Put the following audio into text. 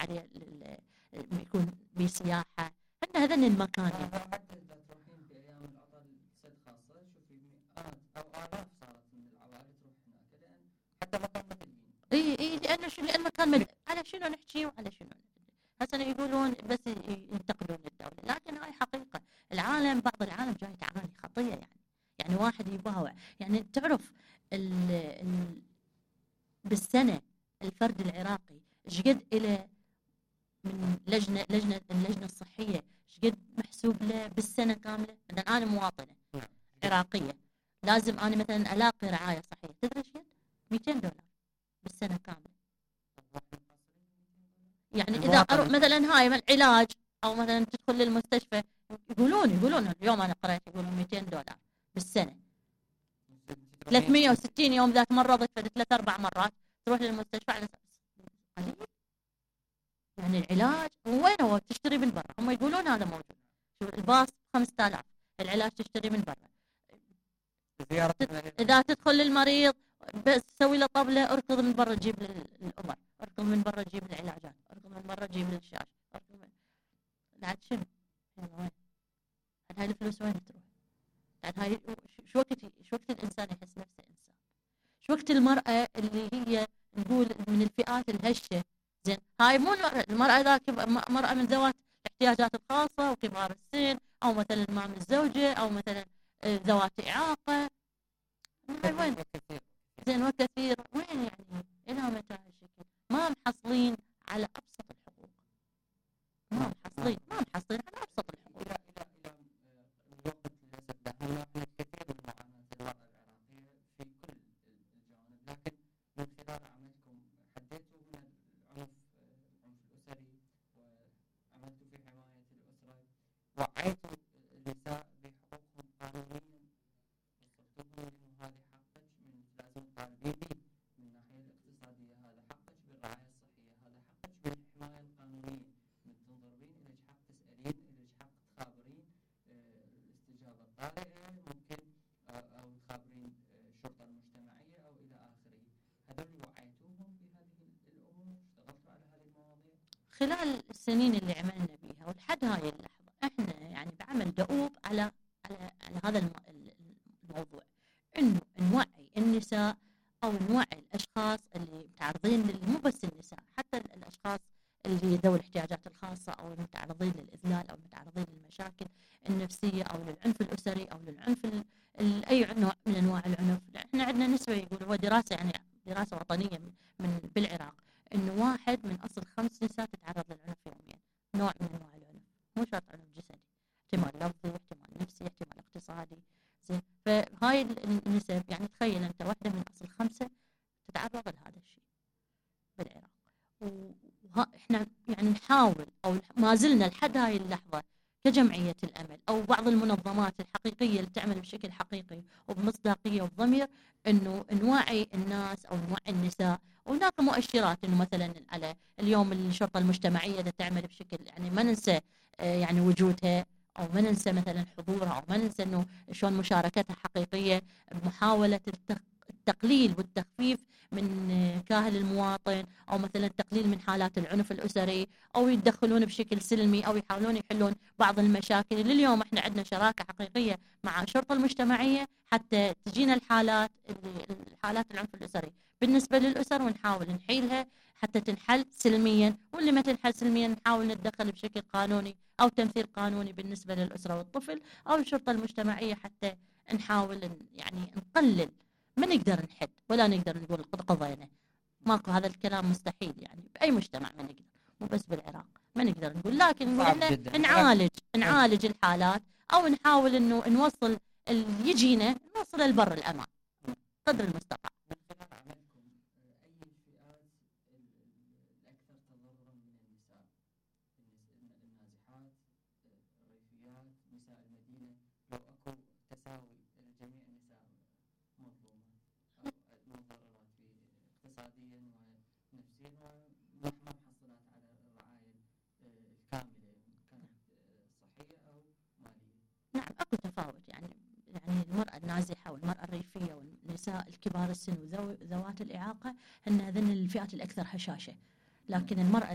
العاريه يكون بسياحه، هن هذين المكان يعني. حتى اذا تروحين بايام العطل سد خاصه شوفي مئات او الاف صارت من العوائل تروح هناك لان حتى مكان ما تلقين. اي لان مكان على شنو نحكي وعلى شنو هسه يقولون بس ينتقدون الدوله، لكن هاي حقيقه. العالم بعض العالم جاي تعاني خطيه يعني واحد يباوع يعني تعرف بالسنه الفرد العراقي ايش قد له من اللجنه الصحيه، ايش قد محسوب له بالسنه كامله. مثلا انا مواطنه عراقيه لازم انا مثلا الاقي رعايه صحيه، تدري ايش قد؟ $200 بالسنه كامله. يعني اذا اروح مثلا هاي العلاج او مثلا تدخل للمستشفى يقولون اليوم انا قرأت يقولون $200 بالسنه، 360 يوم ذاك مرضت ثلاث اربع مرات تروح للمستشفى على اساس قليل. يعني العلاج وين هو تشتري من برا، هم يقولون هذا موجود. شوف الباص 5000، العلاج تشتري من برا. اذا تدخل للمريض بس تسوي له طبله اركض من برا تجيب الامر، اركض من برا تجيب العلاجات، اركض من برا تجيب الشاشه، اركض من بعد شنو؟ وين؟ هاي الفلوس وين تروح؟ بعد هاي شو وقت الانسان يحس نفسه انسان؟ شو وقت المراه اللي هي نقول من الفئات الهشه؟ زين هاي مو المراه ذاك مراه من ذوات الاحتياجات الخاصه وكبار السن او مثلا ما من الزوجه او مثلا ذوات اعاقه. هاي وين؟ زين وكثير وين يعني؟ الى متى هالشكل؟ ما محصلين على ابسط الحقوق، ما محصلين على ابسط الحقوق. الى الوقت للاسف دهمنا كثير من معاناه المراه العراقيه في كل الجوانب، لكن من خلال عملكم حديتوا من العنف الاسري وعملتوا في حمايه الاسره، وعيتوا النساء بحقوقهم قانونيا، وصلتوهم انه هذه حقك من لازم تطالبين به من الناحيه الاقتصاديه، هذا حقك بالرعايه الصحيه، هذا حقك بالحمايه القانونيه، من تنظرين اليك حق تسالين، اليك حق تخابرين الاستجابه الطارئه ممكن او تخابرين الشرطه المجتمعيه او الى اخره. هذول وعيتوهم بهذه الامور؟ اشتغلتوا على هذه المواضيع؟ خلال السنين اللي عملنا بيها ولحد هاي اللحظه احنا يعني بعمل دؤوب على هذا الموضوع، انه نوعي النساء او نوعي الاشخاص اللي متعرضين مو بس النساء، حتى الاشخاص اللي ذوي الاحتياجات الخاصه او المتعرضين للاذلال او المتعرضين للمشاكل النفسيه او للعنف الاسري او للعنف اي نوع من انواع العنف. احنا عندنا نسبه يقولوا هو دراسه يعني دراسه وطنيه من بالعراق انه 1 من اصل 5 نساء تتعرض للعنف يوميا، نوع من انواع العنف، مو شرط عنف جسدي، احتمال لفظي، احتمال نفسي، احتمال اقتصادي. زين فهاي النسب يعني تخيل انت 1 من اصل 5 تتعرض لهذا الشيء بالعراق. واحنا يعني نحاول او ما زلنا لحد هاي اللحظه كجمعيه الامل او بعض المنظمات الحقيقيه اللي تعمل بشكل حقيقي وبمصداقيه وبضمير انه نوعي الناس او نوعي النساء. وهناك مؤشرات انه مثلا على اليوم الشرطه المجتمعيه تعمل بشكل يعني ما ننسى يعني وجودها او ما ننسى مثلا حضورها او ما ننسى انه شلون مشاركتها حقيقيه بمحاوله التقليل والتخفيف من كاهل المواطن او مثلا التقليل من حالات العنف الاسري او يتدخلون بشكل سلمي او يحاولون يحلون بعض المشاكل اللي اليوم احنا عندنا شراكه حقيقيه مع الشرطه المجتمعيه حتى تجينا الحالات العنف الاسري بالنسبه للاسر ونحاول نحيلها حتى تنحل سلميا، واللي ما تنحل سلميا نحاول نتدخل بشكل قانوني او تمثيل قانوني بالنسبه للاسره والطفل او الشرطه المجتمعيه حتى نحاول يعني نقلل. ما نقدر نحد ولا نقدر نقول قضينا، ماكو هذا الكلام مستحيل يعني باي مجتمع ما نقدر، مو بس بالعراق ما نقدر نقول، لكن نقول نعالج الحالات او نحاول انه نوصل اللي يجينا نوصل لبر الامان قدر المستطاع. نساء المدينة لو اكو تساوي لجميع النساء مظلومة او مضررات اقتصاديا ونفسيا وما محصلات على الرعاية الكاملة كانت صحية او مالية. نعم اكو تفاوت يعني المرأة النازحة والمرأة الريفية والنساء الكبار السن وذوات الإعاقة هن الفئات الأكثر هشاشة، لكن المرأة